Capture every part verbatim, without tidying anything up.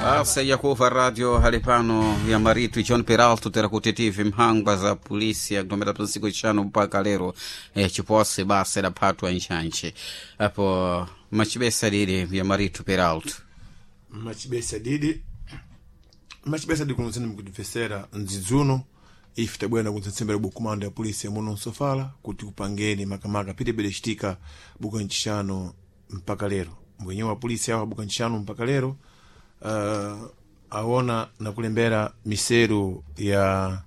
Asa yakuva radio halipano ya maritu John Peralto tera kutetivi mhangwa za polisi yakutomera pansiku chano mpaka lero eh, chipose basa idaphatwa nchanche apo machibesa lili ya maritu Peralto Machibesa didi machibesa didi kuno mkutifesera ndzidzuno ife tabwera kutsetsembera bukumando ya polisi yamuno msofala kuti kupangeni makamaka pitebere chitika buka ncixano mpaka lero mbwenye wa polisi awa buka ncixano mpaka lero uh, aona nakulembera miseru ya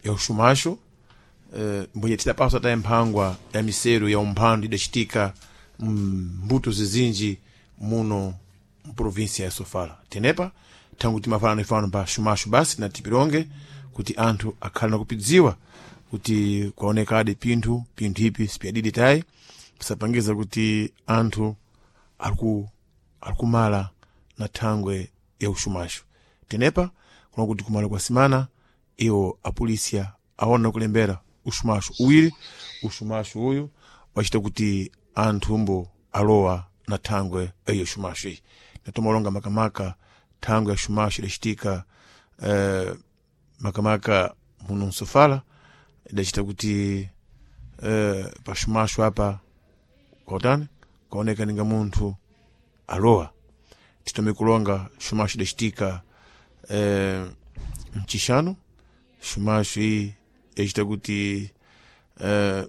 ya uxumaxo uh, mbwenye tidapaswa taye mphangwa ya miseru ya umphandu idacitika mbuto zizinji muno mprovinsia ya sofala tenepa thangu timafana ifano pa xumaxo basi na tipilonge kuti anthu akhale nakupidziwa kuti kwaonekadi pinthu pinthu ipi sipyadidi tayi pisapangiza kuti anthu aliku alikumala na thangwe ya uxumaxo tenepa kuna kuti kumala kwa simana iwo apolisia aona kulembera uxumaxo uwiri uxumaxo uyu wacita kuti anthu mbo alowa na thangwe eyo xumaxo iyi natomalonga makamaka thangwe ya xumaxo idacitika eh, makamaka muno msofala idacita kuti eh, pa xumaxo apa kwautani kwaoneka ninga munthu alowa titome kulonga xumaxo idacitika eh, mcixano xumaxo iyi yacita kuti eh,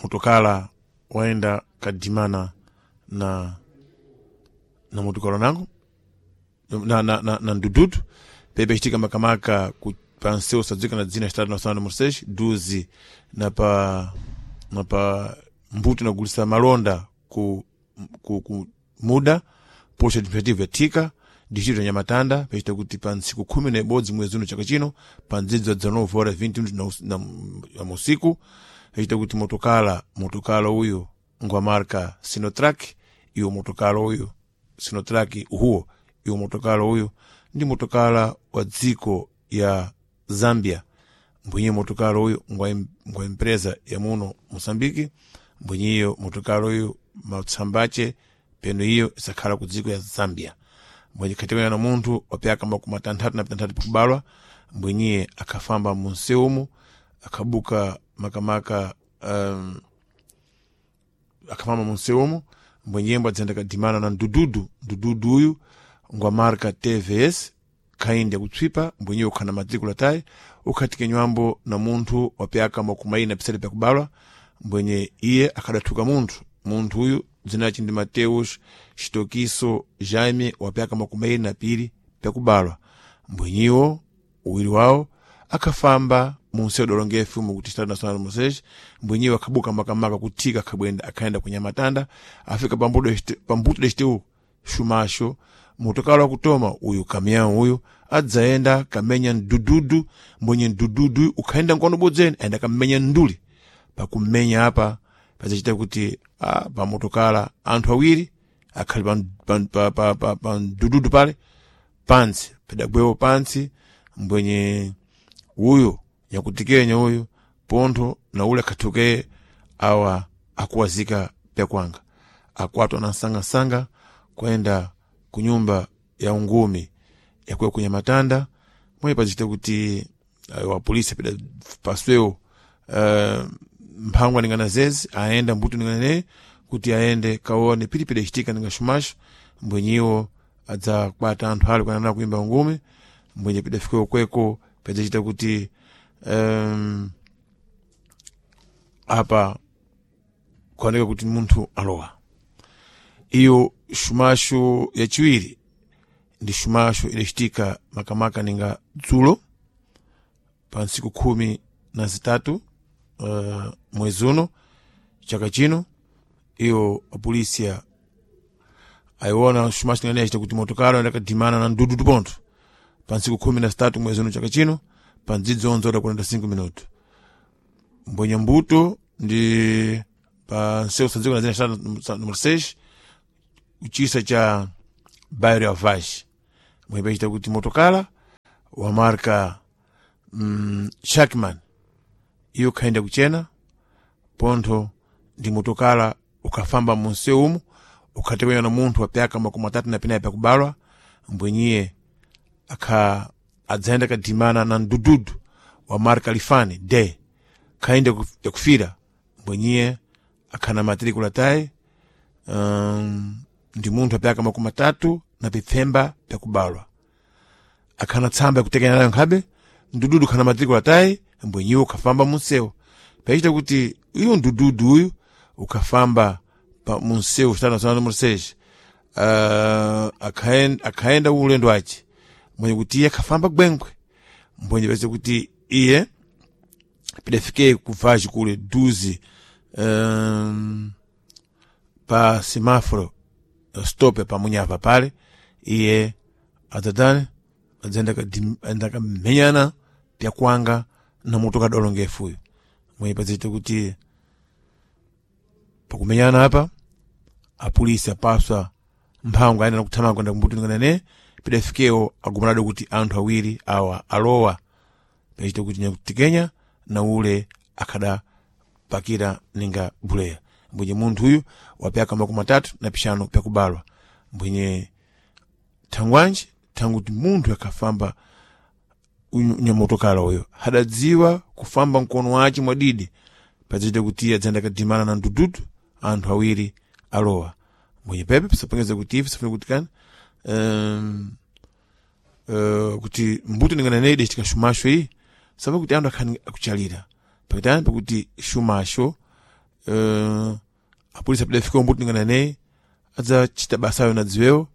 motokala waenda kadimana na na motokala nango na, na, na, na ndududu pepe chitika makamaka ku pa nseu sadzika na dzina estado nacional de Moçambique duzi na pa na pa mbuto nagulisa malonda ku, ku, ku muda posto administrativo ya Thika distrito ya Nhamatanda pachita kuti pa ntsiku khumi na ibodzi mwezi uno chaka chino pa ndzidzi wa dezenove horas vinte na, na, na usiku pachita kuti motokala motokala uyu ngwa marka Sinotrak iwo motokala uyu Sinotrak uhuwo iwo motokala uyu ndi motokala wa dziko ya Zambia mbwenye motokala uyu ngwa ngwa empresa ya muno Moçambique mbwenyeyo motokala uyu matsambache peno iyo isakhala ku dziko ya Zambia mbwenye khatikana na munthu wapyaka makumi atanthatu na pitanthatu pakubalwa mbwenyiye akhafamba munsewumu akhabuka makamaka um, akhafamba munsewumu mbwenyembo adzenda kadimana na ndududu ndududu uyu ngwa marka T V S khaindi yakutswipa mbwenyeyo ukhana matrikula tayi ukhatike nywambo na munthu wapyaka makumi ayi na pisati pakubalwa mbwenye iye akhadathuka munthu munthu uyu dzina lace ndi Mateus Xitokiso Jaime wapyaka makumi ayi na pili pakubalwa mbwenyiwo uwiri wawo akhafamba munsewu dolongefu mukuti estado nacional de Moçambique mbwenyiwo akhabuka makamaka kuthika akhabwenda akhaenda ku Nhamatanda afika pambuto dexiteu xumaxo motokala wakutoma uyu kamião uyu adzayenda kamenya mdududu mbwenye mdududu ukhaenda nkono bodzeni ayenda kamenya nduli pakumenya apa pazacita kuti ah, pamotokala anthu awiri akhali pa, pa, pa, pa, pa, pa mdududu pale pantsi padagwewo pantsi mbwenye uyu nyakutikenya uyu pontho na ule akhathukeye awa akuwazika pyakwanga akwatwa na nsangasanga kwenda kunyumba ya ungumi yakuya ku Nhamatanda mwe pazicita kuti uh, wa polisi pida paswewo uh, mphangwa ningana zezi aenda mbuto ningana neye kuti aende kaone pilipili ichitika ninga xumaxo mbwenyiwo adzakwata anthu ali kuyanana kuimba ungumi mbwenye pidafikewo kweko padzachita kuti um, apa kuoneka kuti munthu alowa iyo xumaxo yaciwiri ndi xumaxo idacitika makamaka ninga dzulo pa ntsiku khumi na zitatu uh, mwezi uno chaka chino iyo apolisia ayiona xumaxo ingane yacita kuti motokala ndakadimana na mdududu pontho pa ntsiku khumi na zitatu mwezi uno chaka chino pa ndzidzi onze ora quarenta e cinco minuto mbwenye mbuto ndi pa nsewu sadziko na zina número seis kuchisa cha bairro ya Vaz mwe pachita kuti motokala wa marka mm, Shackman iyo khaenda kuchena pontho ndi motokala ukhafamba munsewu umu Ukhatekenya na munthu wa pyaka makumi atatu na pinayi pyakubalwa, mbwenyiye akha adzayenda kadimana na mdududu wa marka lifani de khainde yakufira, mbwenyiye akhana matrikula tayi um, ndi munthu apyaka makumi atatu na pipfemba pyakubalwa, akhana tsamba yakutekenya nayo nkhabe mdududu khana matrikula tayi, mbwenyiwe ukhafamba munsewu pachita kuti uyu mdududu uyu ukhafamba pa munsewu Estado Nacional número seis, uh, akhaenda, akhaenda ulendo ace mbwenye kuti iye akhafamba gwengwe, mbwenye pese kuti iye pidafike kuvaji kule duzi um, pa semáforo stop pa munyava pale, iye adzatani adzayenda kamenyana pyakwanga na mutu kadolongefuyo, mwenye pazite kuti pakumenyana apa apolisi apaswa mphango ayenda nakuthamanga kwenda kumbuto nane pidafikewo agumanado kuti anthu awiri awa alowa pachita kuti nyakutikenya na ule akhadapakira ninga buleya, mbwenye munthu uyu wapyaka makumi atatu na pixanu pyakubalwa, mbwenye thangwanji thangu kuti munthu akhafamba nyamotokala uyo hadadziwa kufamba mkono wace mwadidi pazita kuti adzayenda kadimana na mdududu anthu awiri alowa, mbwenye pepe pisapangeza kuti ife sifuna kuti kani um, uh, kuti mbuto ninganene idacitika xumaxo iyi sapa kuti anthu akhani akuchalira pakutani pakuti xumaxo uh, apolisi apidafika mbuto ninganene adzacita basayo na dziwewo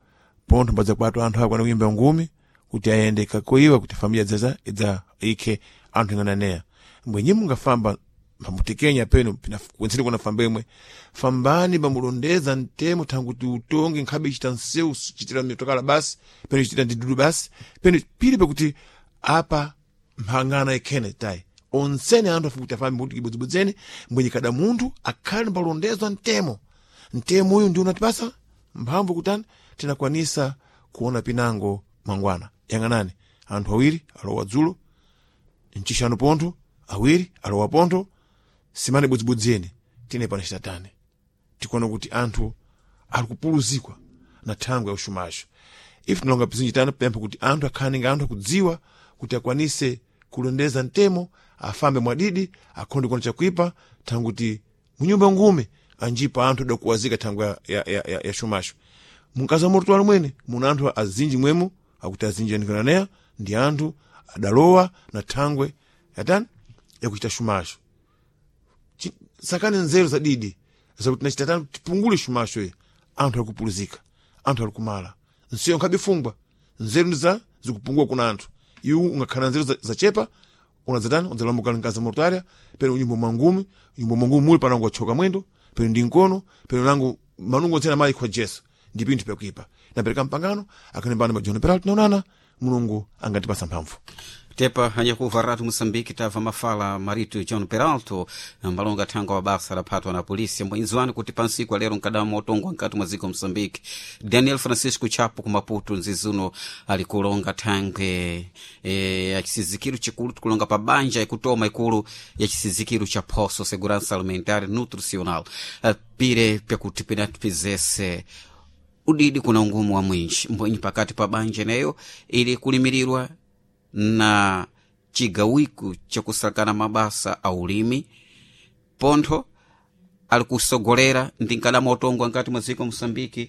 pontho mbadzakwatwa anthu akwana kuyimba ngumi kuti ayende kakoiwa kuti familia idzaza idza ikhe anthu ingananeya, mbwenye mungafamba pamutekenya peno kwenseni kuna famba imwe fambani pamulondeza mtemo thangu kuti utonge nkhabe ichita nsewu chitira mitokala basi peno ichitira ndidudu basi peno pili pakuti apa mphangana ikhene tayi onsene anthu afukuti afambe kuti kibodzibodzene, mbwenye kada munthu akhale palondezwa mtemo mtemo uyu ndi unatipasa mphamvu kutani tinakwanisa kuona pinango mangwana yang'anani anthu awiri alowa dzulo mchishanu pontho awiri alowa pontho simani budzibudziyeni tine pano chitatani tikuona kuti anthu ali kupuluzikwa na thangwe ya uxumaxo ife tinalonga pizinji tano pempha kuti anthu akhale nga anthu akudziwa kuti akwanise kulondeza mtemo afambe mwadidi akhonde kuona chakuipa thangu kuti munyumba ngume anjipa anthu adakuwazika thangwe ya, ya, ya, ya, ya xumaxo munkazi wa mototwalo mwene muna anthu azinji mwemo akuti azinji anikananeya ndi anthu adalowa na thangwe yatani yakuchita xumaxo sakani nzeru za didi zakuti nachitatani tipungule xumaxo ye anthu alikupuluzika anthu alikumala nseyo nkhabifungwa nzeru ndiza zikupungua kuna anthu iwu ungakhala nzeru zachepa unadzatani udzalamuka nkazi mortaria peno unyumba mwangumi unyumba mwangumi muli panango achoka mwendo peno ndi nkono peno nangu manungo ntsena mayi kwa Jesu ndi pinthu pyakuipa napereka mpangano akanembana majono peralto naonana Mulungu angatipasa mphamvu tepa anyakuva ratu Moçambique tava mafala marito John Peralto mbalonga thanga wa basa laphatwa na polisi mbwinzwani kuti pansiku alero nkadama otongwa nkati mwa dziko Moçambique Daniel Francisco Chapo ku Maputo nzizuno alikulonga thangwe e, ya chisizikiro chikulu tikulonga pa banja ikutoma ikulu ya chisizikiro cha poso segurança alimentar nutricional pire pyakuti pinatipizese udidi kuna ungumu wa mwinji mbwenyi pakati pa banja neyo ili kulimirirwa na chigawiku chakusakana mabasa a ulimi pontho ali kusogolera ndi nkadama otongwa nkati mwa dziko Moçambique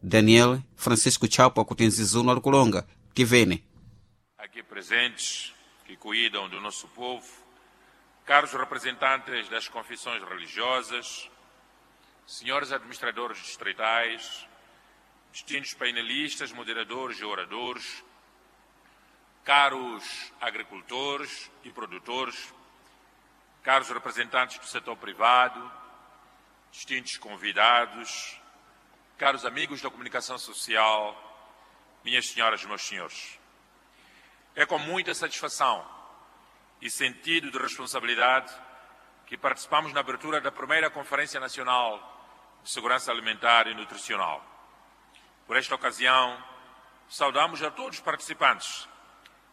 Daniel Francisco Chapo akuti nzizuno ali kulonga tivene aqui presentes que cuidam do nosso povo, caros representantes das confissões religiosas, senhores administradores distritais, distintos painelistas, moderadores e oradores, caros agricultores e produtores, caros representantes do setor privado, distintos convidados, caros amigos da comunicação social, minhas senhoras e meus senhores. É com muita satisfação e sentido de responsabilidade que participamos na abertura da primeira Conferência Nacional de Segurança Alimentar e Nutricional. Por esta ocasião, saudamos a todos os participantes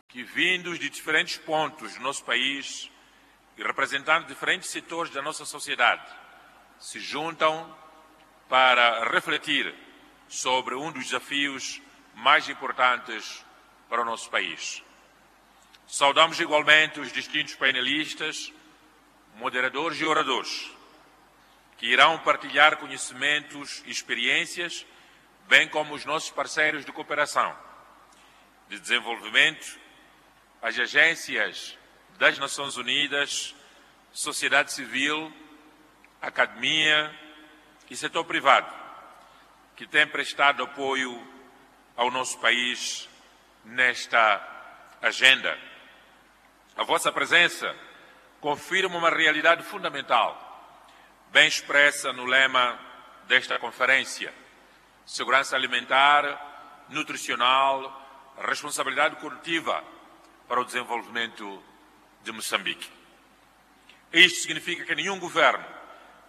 que, vindos de diferentes pontos do nosso país e representando diferentes setores da nossa sociedade, se juntam para refletir sobre um dos desafios mais importantes para o nosso país. Saudamos igualmente os distintos painelistas, moderadores e oradores, que irão partilhar conhecimentos e experiências, bem como os nossos parceiros de cooperação, de desenvolvimento, as agências das Nações Unidas, sociedade civil, academia e setor privado, que têm prestado apoio ao nosso país nesta agenda. A vossa presença confirma uma realidade fundamental, bem expressa no lema desta conferência: segurança alimentar, nutricional, responsabilidade coletiva para o desenvolvimento de Moçambique. Isto significa que nenhum governo,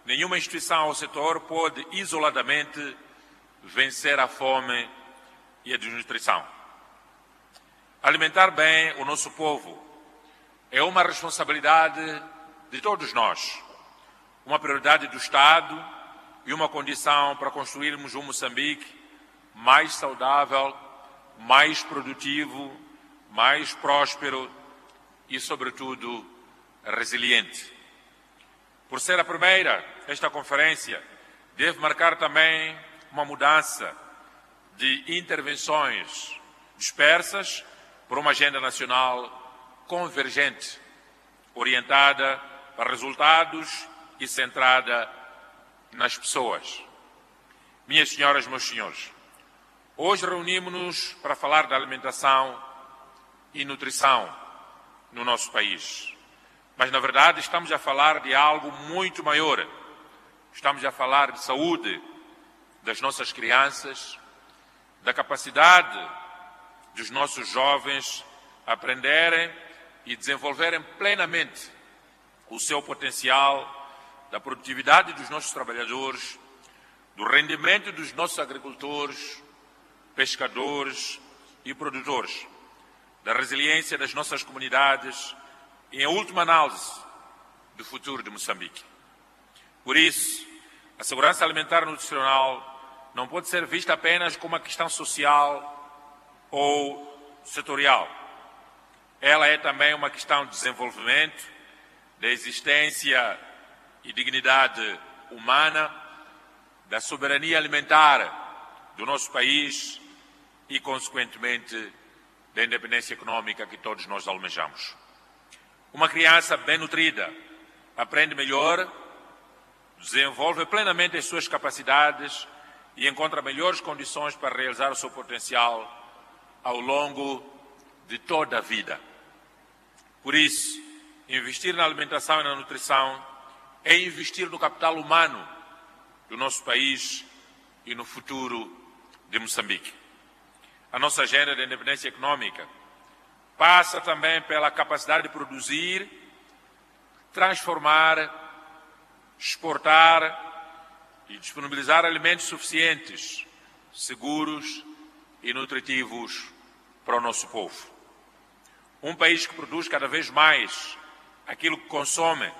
nenhuma instituição ou setor pode isoladamente vencer a fome e a desnutrição. Alimentar bem o nosso povo é uma responsabilidade de todos nós, uma prioridade do Estado e uma condição para construirmos um Moçambique mais saudável, mais produtivo, mais próspero e, sobretudo, resiliente. Por ser a primeira, esta conferência deve marcar também uma mudança de intervenções dispersas por uma agenda nacional convergente, orientada para resultados e centrada nas pessoas. Minhas senhoras, meus senhores, hoje reunimos-nos para falar da alimentação e nutrição no nosso país. Mas, na verdade, estamos a falar de algo muito maior. Estamos a falar de saúde das nossas crianças, da capacidade dos nossos jovens aprenderem e desenvolverem plenamente o seu potencial, da produtividade dos nossos trabalhadores, do rendimento dos nossos agricultores, pescadores e produtores, da resiliência das nossas comunidades e, em última análise, do futuro de Moçambique. Por isso, a segurança alimentar e nutricional não pode ser vista apenas como uma questão social ou setorial. Ela é também uma questão de desenvolvimento, da existência e dignidade humana, da soberania alimentar do nosso país e, consequentemente, da independência econômica que todos nós almejamos. Uma criança bem nutrida aprende melhor, desenvolve plenamente as suas capacidades e encontra melhores condições para realizar o seu potencial ao longo de toda a vida. Por isso, investir na alimentação e na nutrição é investir no capital humano do nosso país e no futuro de Moçambique. A nossa agenda de independência econômica passa também pela capacidade de produzir, transformar, exportar e disponibilizar alimentos suficientes, seguros e nutritivos para o nosso povo. Um país que produz cada vez mais aquilo que consome,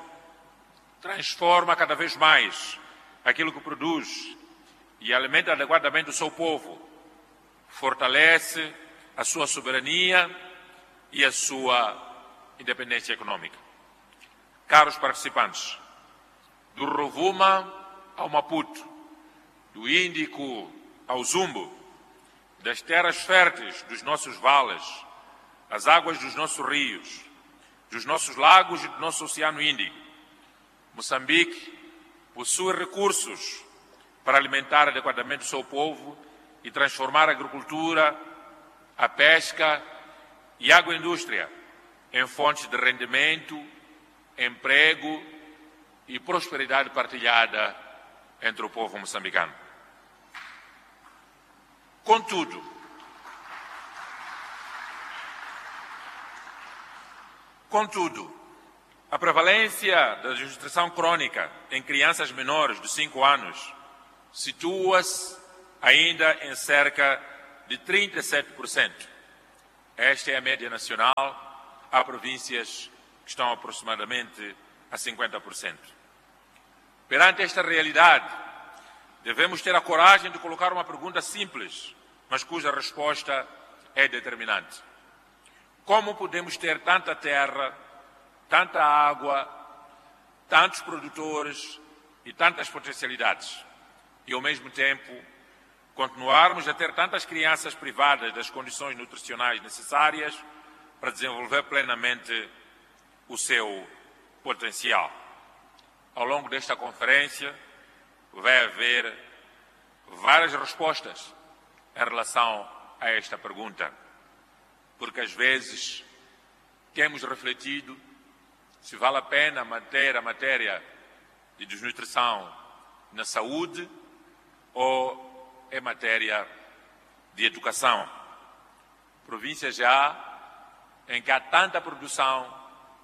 transforma cada vez mais aquilo que produz e alimenta adequadamente o seu povo, fortalece a sua soberania e a sua independência econômica. Caros participantes, do Rovuma ao Maputo, do Índico ao Zumbo, das terras férteis dos nossos vales, as águas dos nossos rios, dos nossos lagos e do nosso Oceano Índico, Moçambique possui recursos para alimentar adequadamente o seu povo e transformar a agricultura, a pesca e a agroindústria em fontes de rendimento, emprego e prosperidade partilhada entre o povo moçambicano. Contudo, contudo, a prevalência da desnutrição crônica em crianças menores de cinco anos situa-se ainda em cerca de trinta e sete por cento. Esta é a média nacional. Há províncias que estão aproximadamente a cinquenta por cento. Perante esta realidade, Devemos ter a coragem de colocar uma pergunta simples, mas cuja resposta é determinante. Como podemos ter tanta terra, tanta água, tantos produtores e tantas potencialidades e, ao mesmo tempo, continuarmos a ter tantas crianças privadas das condições nutricionais necessárias para desenvolver plenamente o seu potencial? Ao longo desta conferência, vai haver várias respostas em relação a esta pergunta, porque às vezes temos refletido se vale a pena manter a matéria de desnutrição na saúde ou em matéria de educação. Províncias já em que há tanta produção,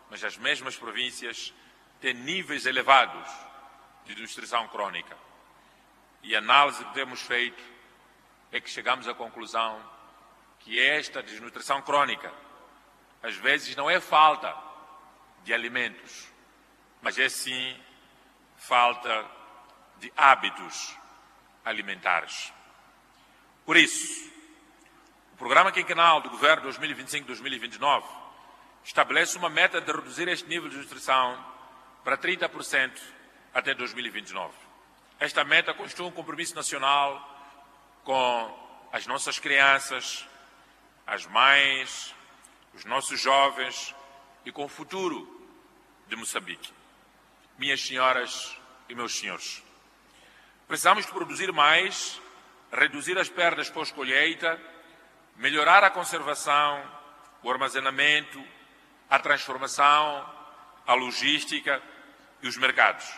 mas as mesmas províncias têm níveis elevados de desnutrição crônica. E a análise que temos feito é que chegamos à conclusão que esta desnutrição crônica, às vezes, não é falta de alimentos, mas é sim falta de hábitos alimentares. Por isso, o Programa Quinquenal do Governo dois mil e vinte e cinco a dois mil e vinte e nove estabelece uma meta de reduzir este nível de desnutrição para trinta por cento até dois mil e vinte e nove. Esta meta constitui um compromisso nacional com as nossas crianças, as mães, os nossos jovens e com o futuro de Moçambique. Minhas senhoras e meus senhores, precisamos de produzir mais, reduzir as perdas pós-colheita, melhorar a conservação, o armazenamento, a transformação, a logística e os mercados,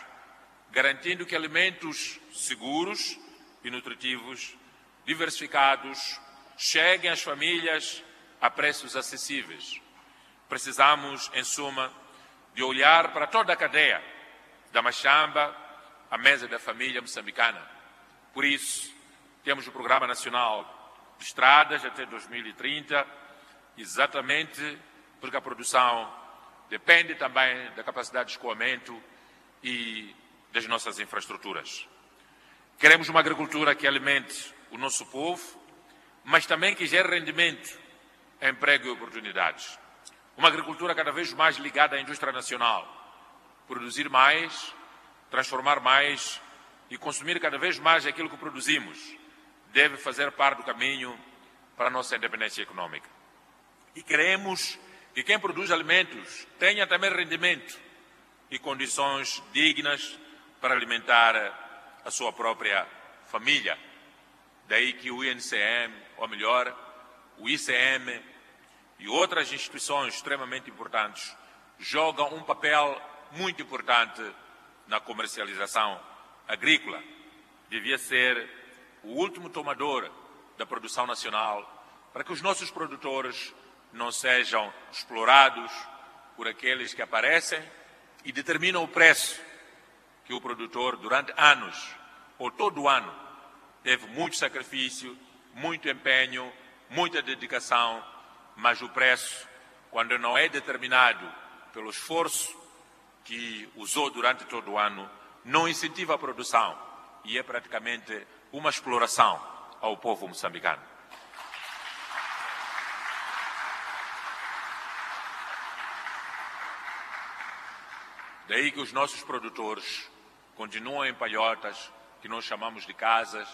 garantindo que alimentos seguros e nutritivos, diversificados, cheguem às famílias a preços acessíveis. Precisamos, em suma, de olhar para toda a cadeia, da machamba à mesa da família moçambicana. Por isso, temos o Programa Nacional de Estradas até dois mil e trinta, exatamente porque a produção depende também da capacidade de escoamento e das nossas infraestruturas. Queremos uma agricultura que alimente o nosso povo, mas também que gere rendimento, emprego e oportunidades. Uma agricultura cada vez mais ligada à indústria nacional. Produzir mais, transformar mais e consumir cada vez mais aquilo que produzimos deve fazer parte do caminho para a nossa independência econômica. E queremos que quem produz alimentos tenha também rendimento e condições dignas para alimentar a sua própria família. Daí que o I N C M, ou melhor, o I C M e outras instituições extremamente importantes jogam um papel muito importante na comercialização agrícola. Devia ser o último tomador da produção nacional para que os nossos produtores não sejam explorados por aqueles que aparecem e determinam o preço que o produtor, durante anos, ou todo o ano, teve muito sacrifício, muito empenho, muita dedicação, mas o preço, quando não é determinado pelo esforço que usou durante todo o ano, não incentiva a produção e é praticamente uma exploração ao povo moçambicano. Daí que os nossos produtores continuam em palhotas, que nós chamamos de casas,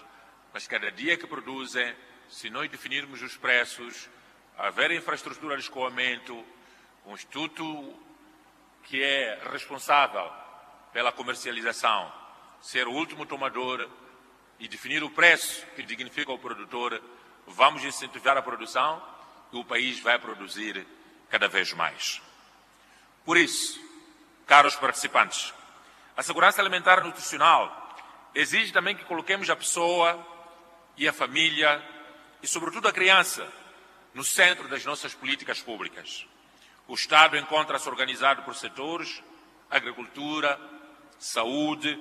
mas cada dia que produzem, se nós definirmos os preços, haver infraestrutura de escoamento, um instituto que é responsável pela comercialização, ser o último tomador e definir o preço que dignifica o produtor, vamos incentivar a produção e o país vai produzir cada vez mais. Por isso, caros participantes, a segurança alimentar e nutricional exige também que coloquemos a pessoa e a família e, sobretudo, a criança no centro das nossas políticas públicas. O Estado encontra-se organizado por setores: agricultura, saúde,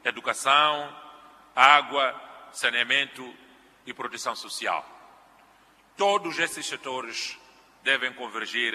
educação, água, saneamento e proteção social. Todos esses setores devem convergir